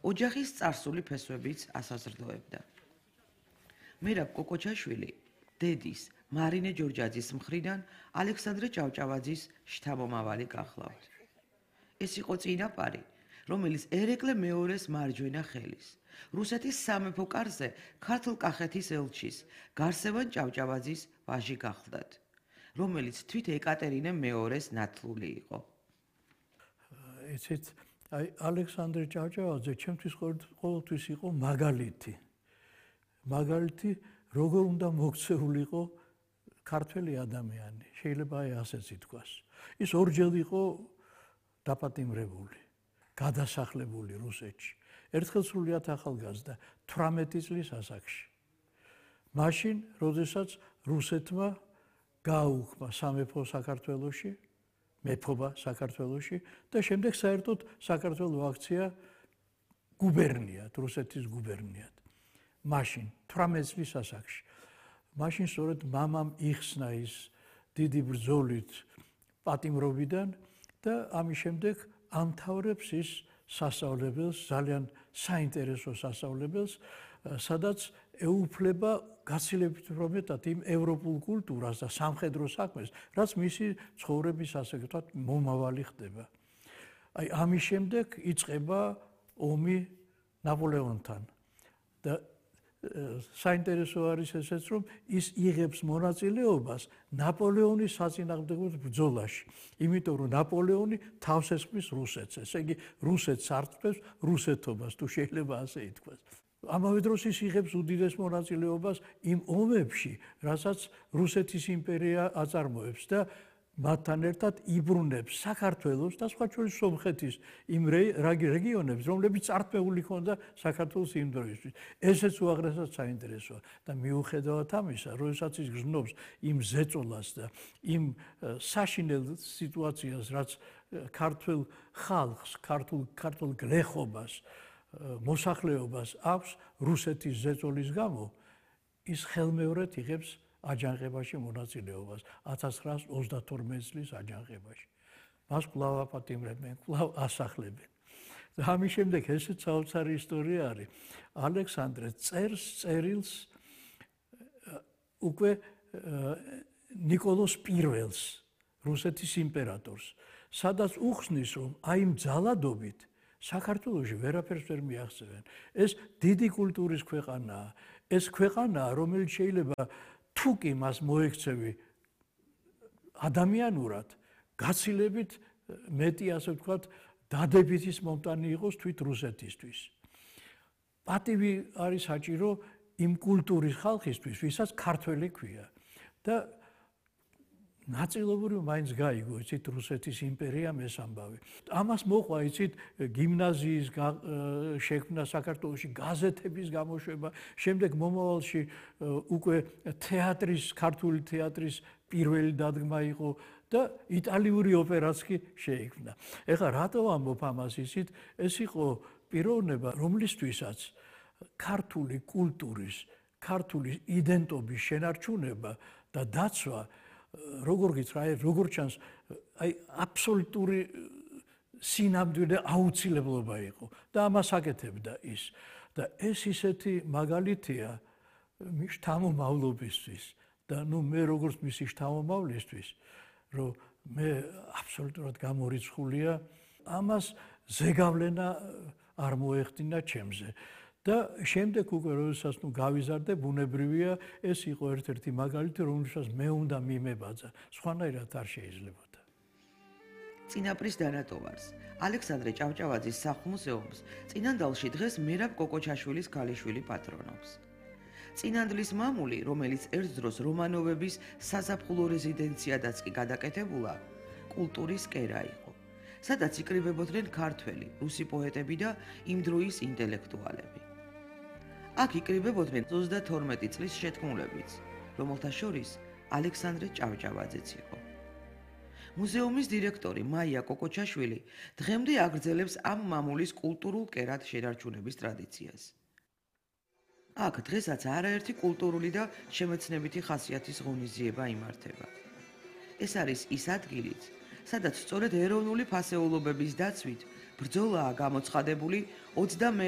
ოჯახის წარსული ფესვებიც ასაზრდოებდა. მერაბ კოკოჩაშვილი დედის მარინე ჯორჯაძის მხრიდან ალექსანდრე ჭავჭავაძის შთამომავალი გახლავთ. ეს იყო წინაპარი, რომელიც ერეკლე მეორეს მარჯვენა ხელის, რუსეთის სამეფო კარზე ქართლ-კახეთის ელჩის გარსევან ჭავჭავაძის ვაჟი გახლდათ, რომელიც თვით ეკატერინე მეორეს ნათლული იყო. იცით, ალექსანდრე ჭავჭავაძე ჩემთვის ყოველთვის იყო მაგალითი. მაგალითი, როგორ უნდა მოქცეულიყო ქართველი ადამიანი, შეიძლება ასეც ითქვას. ის ორჯერ იყო დაპატიმრებული, გადასახლებული რუსეთში. ერთხელ სრულიად ახალგაზრდა 18 წლის ასაკში. მაშინ, როდესაც რუსეთმა გააუქმა სამეფო საქართველოში, მეფობა საქართველოში და შემდეგ საერთოდ საქართველოს აქცია გუბერნიად, რუსეთის გუბერნიად. მაშინ 18 წლის ასაკში. მაშინ სწორედ მამამ იხსნა ის დიდი ბრძოლით პატიმრობიდან და ამის შემდეგ ამთავრებს ის სასწავლებელს, ძალიან საინტერესო სასწავლებელს, სადაც ეუფლება გაცილებით მეტად იმ ევროპულ კულტურას და სამხედრო საქმეს, რაც მისი ცხოვრების ასე ვთქვათ მომავალი ხდება. ამის შემდეგ იწყება ომი ნაპოლეონთან და საინტერესო არის ესეც, რომ ის იღებს მონაწილეობას ნაპოლეონის საწინააღმდეგო ბრძოლაში, იმიტომ რომ ნაპოლეონი თავს ესხმის რუსეთს, ესე იგი რუსეთს არტყმებს რუსეთობას, თუ შეიძლება ასე ითქვას. ამავე დროს ის იღებს უდიდეს მონაწილეობას იმ ომებში, რასაც რუსეთის იმპერია აწარმოებს და მათთან ერთად იბრუნებს საქართველოს და სხვა შორის სომხეთის იმ რეგიონებს, რომლებიც წართმეული ჰქონდა საქართველოს იმ დროისთვის. ესეც უაღრესად საინტერესოა და მიუხედავად ამისა, როდესაც ის გრძნობს იმ ზეწოლას და იმ საშინელ სიტუაციას, რაც ქართულ ხალხს, ქართულ გლეხობას, მოსახლეობას აქვს რუსეთის ზეწოლის გამო, ის ხელმეორედ იღებს აჯანყებაში მონაწილეობას 1932 წლის აჯანყებაში. მას კვლავ აპატიმრებენ, კვლავ ასახლებენ. და ამის შემდეგ ესეც საოცარი ისტორია არის. ალექსანდრე წერს წერილს უკვე ნიკოლოზ პირველს, რუსეთის იმპერატორს, სადაც უხსნის, რომ აი იმ ძალადობით საქართველოში ვერაფერს ვერ მიაღწევენ. ეს დიდი კულტურის ქვეყანაა. ეს ქვეყანაა, რომელიც შეიძლება თუ კი მას მოექცევი ადამიანურად, გაცილებით მეტი, ასე ვთქვათ, დადებითის მომტანი იყოს თვით რუსეთისთვის. პატივი არის საჭირო იმ კულტურის ხალხისთვის, ვისაც ქართველი ქვია. და ნაწილობრივ მაინც გაიგო, იცით, რუსეთის იმპერიამ ეს ამბავი. ამას მოყვა, იცით, გიმნაზიის შექმნა საქართველოში, გაზეთების გამოშვება, შემდეგ მომავალში უკვე თეატრის, ქართული თეატრის პირველი დადგმა იყო და იტალიური ოპერაც კი შეიქმნა. ეხლა რატო ამბობ ამას, იცით, ეს იყო პიროვნება, რომლისთვისაც ქართული კულტურის, ქართული იდენტობის შენარჩუნება და დაცვა როგორ გითხრა, როგორ ჩანს, აბსოლუტური სინამდვილე აუცილებლობა იყო და ამას აკეთებდა ის. და ეს ისეთი მაგალითია შთამომავლობისთვის და მე როგორც მისი შთამომავლისთვის, რომ მე აბსოლუტურად გამორიცხულია, ამას ზეგავლენა არ მოეხდინა ჩემზე. და შემდეგ უკვე როდესაც გავიზარდე, ბუნებრივია, ეს იყო ერთ-ერთი მაგალითი, რომელსაც მე უნდა მიმებაძა, სხვანაირად არ შეიძლებოდა. წინაპრის დანატოვარს, ალექსანდრე ჭავჭავაძის სახლ-მუზეუმს წინანდალში დღეს მერაბ კოკოჩაშვილის ქალიშვილი პატრონობს. წინანდლის მამული, რომელიც ერთ დროს რომანოვების საზაფხულო რეზიდენციადაც კი გადაკეთებულა, კულტურის კერა იყო, სადაც იკრიბებოდნენ ქართველი, რუსი პოეტები და იმ დროის ინტელექტუალები. აქ იკრიბებოდნენ 32 წლის შეთქმულებიც, რომელთა შორის ალექსანდრე ჭავჭავაძეც იყო. მუზეუმის დირექტორი მაია კოკოჩაშვილი დღემდე აგრძელებს ამ მამულის კულტურულ კერად შენარჩუნების ტრადიციას. აქ დღესაც არაერთი კულტურული და შემეცნებითი ხასიათის ღონისძიება იმართება. ეს არის ის ადგილიც, სადაც სწორედ ეროვნული ფასეულობების დაცვით ბრძოლაა გამოცხადებული 20